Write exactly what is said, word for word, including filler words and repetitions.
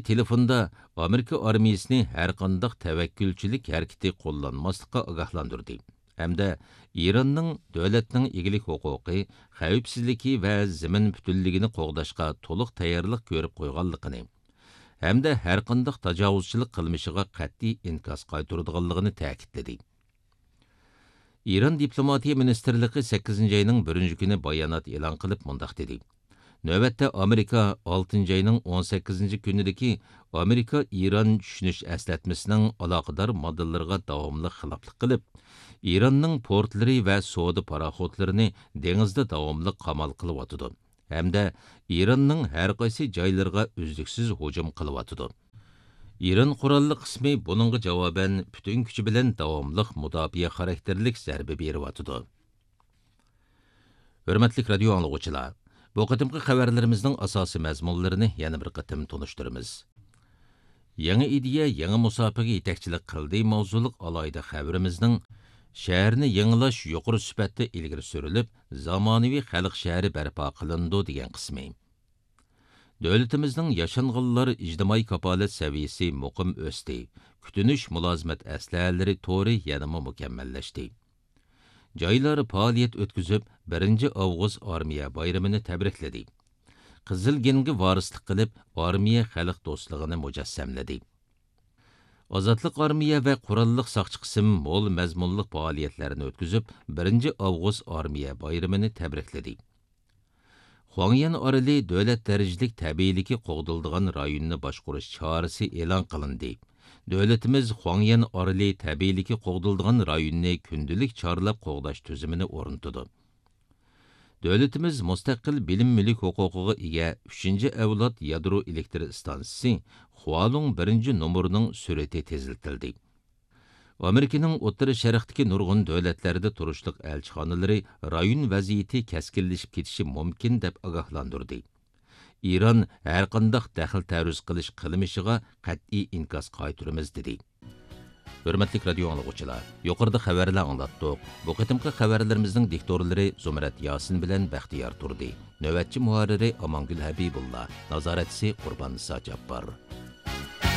تېلېفوندا ئامېرىكا ئارمىيىسىنى ھەرقانداق تەۋەككۈلچىلىك ھەرىكىتى قوللانماسلىققا ئاگاھلاندۇردى ھەمدە ئىراننىڭ دۆلەتنىڭ ئىگىلىك ھوقۇقى، خەۋپسىزلىكى ۋە زېمىن پۈتۈنلۈكىنى قوغداشقا تولۇق تەييارلىق كۆرۈپ قويغانلىقىنى ھەمدە ھەرقانداق تاجاۋۇزچىلىق قىلمىشىغا قەتئىي ئىنكاس قايتۇرىدىغانلىقىنى تەكىتلىدى. ئىران دىپلوماتىيە مىنىستىرلىقى سەككىزىنچى ئاينىڭ بىرىنچى كۈنى بايانات ئېلان قىلىپ مۇنداق دېدى: نۆۋەتتە ئامېرىكا ئالتىنچى ئاينىڭ ئون سەككىزىنچى كۈنىدىكى ئامېرىكا ئىران چۈشىنىش ئەسلەتمىسىنىڭ ئالاقىدار ماددىلىرىغا داۋاملىق خىلاپلىق قىلىپ، ئىراننىڭ پورتلىرى ۋە سودا پاراخوتلىرىنى دېڭىزدا داۋاملىق قامال قىلىۋاتىدۇ ھەمدە ئىراننىڭ ھەرقايسى جايلىرىغا ئۈزلۈكسىز ھۇجۇم قىلىۋاتىدۇ. ئىران قوراللىق قىسمى بۇنىڭغا جاۋابەن پۈتۈن كۈچى بىلەن داۋاملىق مۇداپىئە خاراكتېرلىك زەربە بېرىۋاتىدۇ. ھۆرمەتلىك رادىيو ئاڭلىغۇچىلار، بۇ قېتىمقى خەۋەرلىرىمىزنىڭ ئاساسىي مەزمۇنلىرىنى يەنە بىر قېتىم تونۇشتۇرىمىز. يېڭى ئىدىيە، يېڭى مۇساپىگە يېتەكچىلىك قىلدى ماۋزۇلۇق ئالاھىدە خەۋىرىمىزنىڭ شەھەرنى يېڭىلاش يۇقىرى سۈپەتتە ئىلگىرى سۈرۈلۈپ، زامانىۋى خەلق شەھىرى بەرپا قىلىنىدۇ دېگەن قىسمى. دۆلىتىمىزنىڭ ياشانغانلار ئىجتىمائىي كاپالەت سەۋىيىسى مۇقىم ئۆستى، كۈتۈنۈش مۇلازىمەت ئەسلىھەلىرى تورى يەنىمۇ مۇكەممەللەشتى. جايلار پائالىيەت ئۆتكۈزۈپ، بىرىنچى ئاۋغۇست ئارمىيە بايرىمىنى تەبرىكلىدى. قىزىل گېنگە ۋارىسلىق قىلىپ، ئارمىيە خەلق دوستلۇقىنى مۇجەسسەملىدى. ئازادلىق ئارمىيە ۋە قوراللىق ساقچى قىسىم مول مەزمۇنلۇق پائالىيەتلەرنى ئۆتكۈزۈپ، بىرىنچى ئاۋغۇست ئارمىيە بايرىمىنى تەبرىكلىدى. خۇاڭيەن ئارىلى دۆلەت دەرىجىلىك تەبىئىيلىكى قوغدىلىدىغان رايوننى باشقۇرۇش چارىسى ئېلان قىلىندى. دۆلىتىمىز خۇاڭيەن ئارىلى تەبىئىيلىكى قوغدىلىدىغان رايوننى كۈندىلىك چارلاپ قوغداش تۈزۈمىنى ئورنىتىدۇ. دۆلىتىمىز مۇستەقىل بىلىم مۈلۈك ھوقۇقىغا ئىگە ئۈچىنچى ئەۋلاد يادرو ئېلېكتر ئىستانسىسى خۇالۇڭ بىرىنچى نومۇرىنىڭ سۈرئىتى تېزلىتىلدى. ئامېرىكىنىڭ ئوتتۇرا شەرقتىكى نۇرغۇن دۆلەتلەردە تۇرۇشلۇق ئەلچىخانىلىرى رايون ۋەزىيىتى كەسكىنلىشىپ كېتىشى مۇمكىن دەپ ئاگاھلاندۇردى. ئىران ھەرقانداق دەخلى تەرۇز قىلىش قىلمىشىغا قەتئىي ئىنكاس قايتۇرىمىز دېدى. ھۆرمەتلىك رادىيو ئاڭلىغۇچىلار، يۇقىرىدا خەۋەرلەر ئاڭلاتتۇق. بۇ قېتىمقى خەۋەرلىرىمىزنىڭ دىكتورلىرى زۇمرەت ياسىن بىلەن بەختىيار تۇردى. نۆۋەتچى مۇھەررىرى ئامانگۈل ھەبىبۇللا، نازارەتچىسى قۇربان نىسا جاپپار.